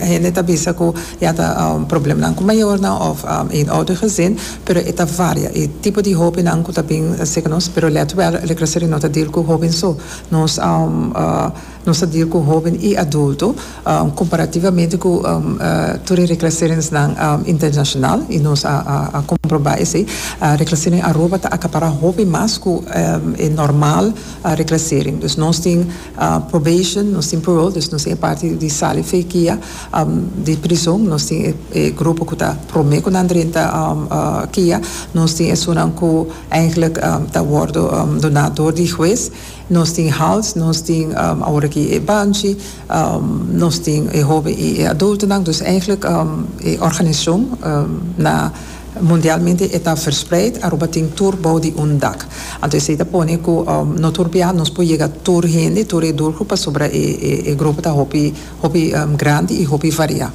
Hende ta bisa ku ya ta problemnan ku mayornan òf eenoudergezin, pero e ta varia. E tipo di hóbennan ku ta bin serka nos, pero lèt wèl, Reclassering no ta deal ku hóben so. Nos nos ta deal ku hóben i adulto, komparativamente ku tur e reclasseringsnan internashonal, i nos a a komprobá esei. Reclassering Aruba ta akapará hopi mas ku e normal reclassering. Dus nos tin Probation, nos tin parole, dus nos tin e parti di sali fe kia di prison, nos tin e grupo ku ta prome ku nan drenta kia, nos tin esunnan ku eigenlijk ta wordo duna door di hues, nos tin hals, nos tin awor aki e banchi, nos tin e hoben i e adultonan, dus eigenlijk e organisashon na. Mundialmente e ta verspreid, Aruba tin tur bou di un dak. Anto esei ta pone ku no tur bia nos por yega tur hende, tur e doelgroep pasobra e grupo ta hopi hopi grandi i hopi variá.